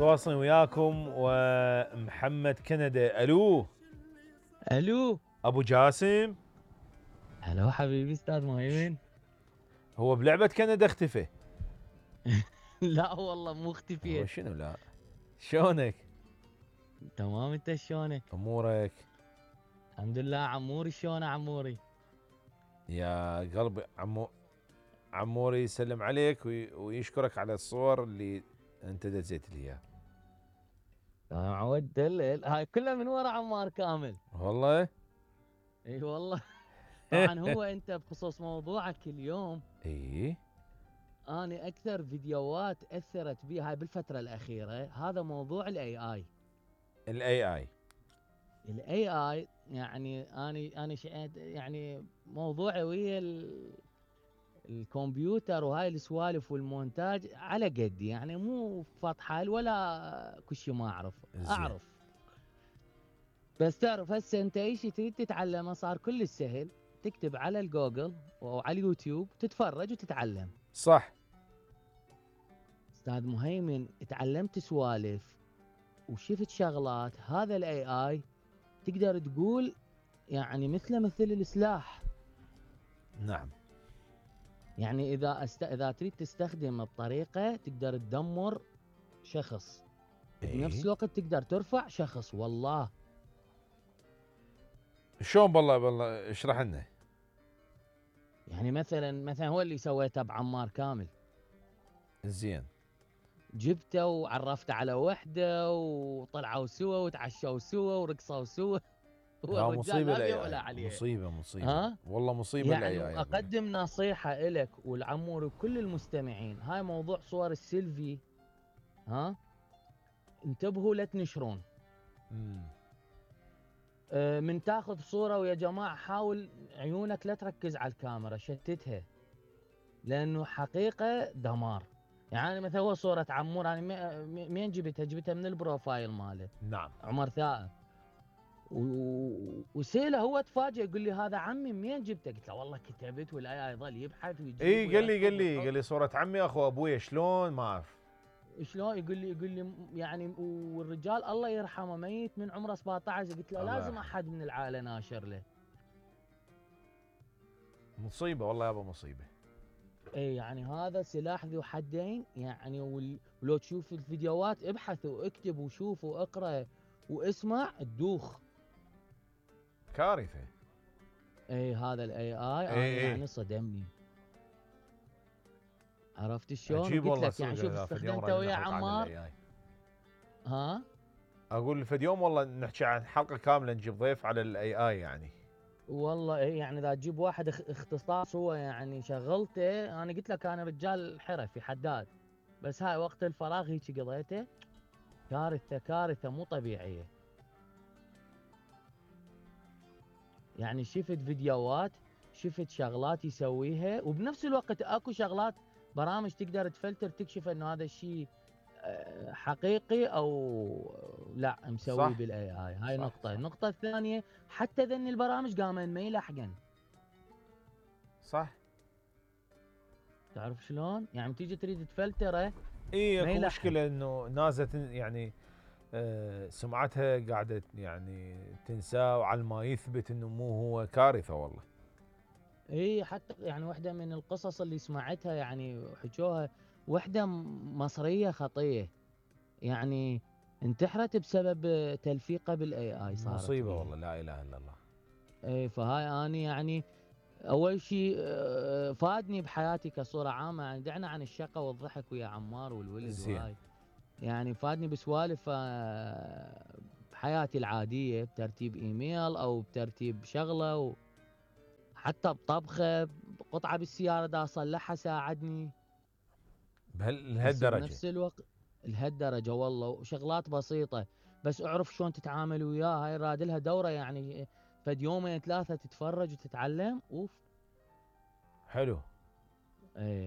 تواصل وياكم ومحمد كندا. الو الو ابو جاسم. هلا حبيبي استاذ مهيمن. هو بلعبة كندا اختفى؟ لا والله مو هو اختفيت. شنو لا؟ شلونك؟ تمام، انت شلونك؟ امورك؟ الحمد لله. عموري شلونه عموري؟ يا قلبي عموري يسلم عليك ويشكرك على الصور اللي انت دزيت لي اياها. معود دلل هاي كلها من ورا عمار كامل. والله؟ اي والله. طبعا هو انت بخصوص موضوعك اليوم، اي انا اكثر فيديوهات اثرت بي هاي بالفتره الاخيره هذا موضوع الاي اي. الاي اي يعني انا يعني موضوعي ويا الكمبيوتر وهاي السوالف والمونتاج على قدي، يعني مو فطحل ولا كل شيء ما اعرف. بس تعرف هسه انت اي شيء تريد تتعلمه صار كل سهل، تكتب على الجوجل او على اليوتيوب تتفرج وتتعلم. صح. استاذ مهيمن تعلمت سوالف وشفت شغلات، هذا الاي اي تقدر تقول يعني مثل السلاح. نعم. يعني اذا تريد تستخدمه بطريقه تقدر تدمر شخص، بنفس الوقت تقدر ترفع شخص. والله شلون؟ بالله اشرح لنا. يعني مثلا هو اللي سويته بعمار كامل. زين. جبته وعرفته على وحده وطلعوا سوا وتعشوا سوا ورقصوا سوا. هو ها الرجال مصيبه لا بيه الاي ولا اي، عليه. مصيبه ها والله مصيبه يعني الاي اي. اقدم نصيحه لك والعمور وكل المستمعين، هاي موضوع صور السيلفي، ها انتبهوا لا تنشرون. من تاخذ صوره ويا جماعه حاول عيونك لا تركز على الكاميرا، شتتها، لانه حقيقه دمار. يعني مثلا هو صوره عمور انا مين جبتها من البروفايل ماله. نعم. عمر ثائر. وسيله هو تفاجئ يقول لي هذا عمي منين جبته؟ قلت له والله كتبت والاي يظل يبحث ويجيب. اي قال لي صورة عمي اخو ابويا. شلون؟ ما اعرف شلون. يقول لي يعني والرجال الله يرحمه ميت من عمره 17. قلت له لازم احد من العائله ناشر له. مصيبه والله يابا مصيبه. اي يعني هذا سلاح ذو حدين يعني. ولو تشوف الفيديوهات ابحث واكتب وشوف واقرا واسمع تدوخ. كارثه. اي هذا الاي اي انا يعني صدمني. عرفت شلون؟ عجيب وقلت والله. لك يعني شوف استخدمته ويا عمار. ها اقول فد يوم والله نحكي عن حلقه كامله نجيب ضيف على الاي اي يعني. والله ايه يعني اذا تجيب واحد اختصاص هو يعني شغلته. انا قلت لك انا رجال حرفي حداد، بس هاي وقت الفراغ هيك قضيته. كارثه مو طبيعيه. يعني شفت فيديوهات، شفت شغلات يسويها، وبنفس الوقت اكو شغلات برامج تقدر تفلتر تكشف انه هذا الشيء حقيقي او لا مسوي بالاي اي. هاي صح نقطه. صح. النقطه الثانيه حتى ذن البرامج قامن ما يلحقن. صح. تعرف شلون؟ يعني تيجي تريد تفلتره اي ما اكو يلحق. مشكله انه نازت يعني سمعتها قاعده يعني تنساه وعلى ما يثبت انه مو هو. كارثه والله. اي حتى يعني واحده من القصص اللي سمعتها يعني حكوها، وحده مصريه خطيه يعني انتحرت بسبب تلفيقه بالاي اي. صارت مصيبه بيه. والله لا اله الا الله. اي فهاي انا يعني اول شيء فادني بحياتي كصوره عامه. يعني دعنا عن الشقه والضحك ويا عمار والولد زين. وهاي، يعني فادني بسوالف بحياتي العاديه، بترتيب ايميل او بترتيب شغله، حتى بطبخه، قطعه بالسياره دا اصلحها ساعدني. بس لهالدرجه؟ بنفس الوقت لهالدرجه والله. وشغلات بسيطه بس اعرف شلون تتعامل وياها. هاي راد لها دوره يعني فد يومين ثلاثه تتفرج وتتعلم. اوف حلو. ايه